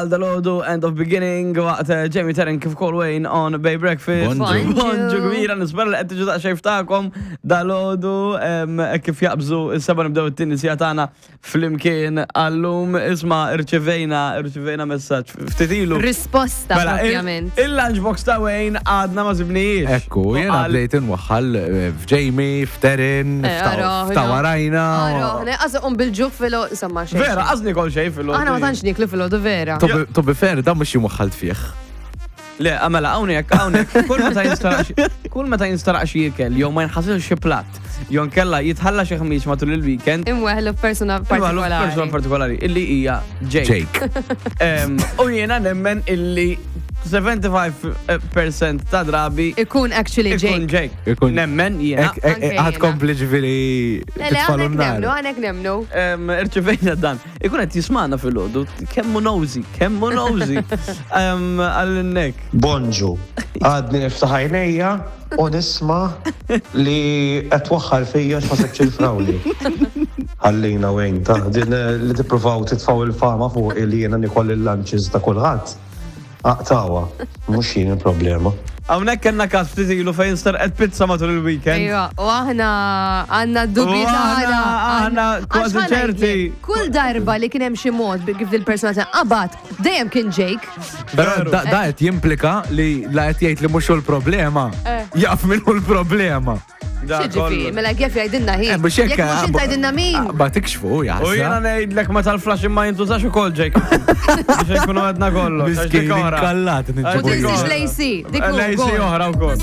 Għal dalodu, end of beginning, waqt eh, Jamie Terren kif kol Wayne on Bay Breakfast. Bonġu. Bonġu kbira, nispera li qed tiġu daqsxejn ftakom dalodu em, kif jaqbżu is-seba nibdew it-tieni sija tagħna flimkien għallum isma' irċivejna irċivejna messaġġ ftit ilu. Risposta Mela, il- propjament. Il-lunchbox ta' Wayne għadna ma sibnijiex. Ekku, jena Għal- bdejt inwaħħal eh, f'Jamie, f'Terin, Eh, ara, f'ta' warajna. Ara, għazu um bil-ġuf filo, insomma, xejn. Vera, għazni kol xejn fil Aħna ma tantx niklu fil-ħodu vera. To be fair, dan mhux waħħalt fih. Le, għamela, hawnhekk, hawnhekk, kull meta jinstaraq xi- kull meta jinstaraq xi ikel jew ma jinħasilx xi platt, jew nkella jitħalla xi ħmieġ matul il-weekend, Imweħlu f'persona Imweħlu f'persona partikolari. partikolari illi hija Jake. Jake. Em, U jiena nemmen illi 75% ta' drabi Ikun actually ikun Jake. Jake. Ikun- Nemmen jiena. Ek- ek- Anke Ħad jiena. kompli ġifiri Le, le, titfalu għanek nemnu, n-nar. għanek nemnu. Em, Irċivejna dan. Ikun qed jismana fil-ħodu, kemmu nosy, kemmu nosy. Em, Għall-nek. Bonġu, għadni niftaħ għajnejja u nisma li qed twaħħal fija x'ma sebx il-frawli. Ħallina wejn ta' din eh, li tippruvaw titfaw il-fama fuq li jiena nikol il-lunches ta' kulħadd. Aqtawa, mhux jien il-problema. Hawnhekk kellna każ ftit ilu fejn starqet pizza matul il-weekend. Ejwa, u aħna għanna dubji U aħna- tagħna. aħna kważi Għax ħa ċerti. ngħidlek, Kull darba li kien hemm xi mod bi- kif il-persona qabad, dejjem kien Jake. Però Veru. da da qed jimplika li la qed jgħid li mhux hu l-problema. Eh. Jaf min hu l-problema. Da, Xiġifieri, kollu. mela kif jgħidilna hi. Eh, Mhux hekk. Jekk mhux int tgħidilna min. Ah, Ba tikxfu, U jiena jaħseb. ngħidlek meta l-flash imma jintużax ukoll Jake. Biex nkunu għedna kollox. għax dik Miskin oħra. inkallat Għax ninġibu. U dik tinsiex oħra. l-AC, dik L-AC ukoll. oħra wkoll.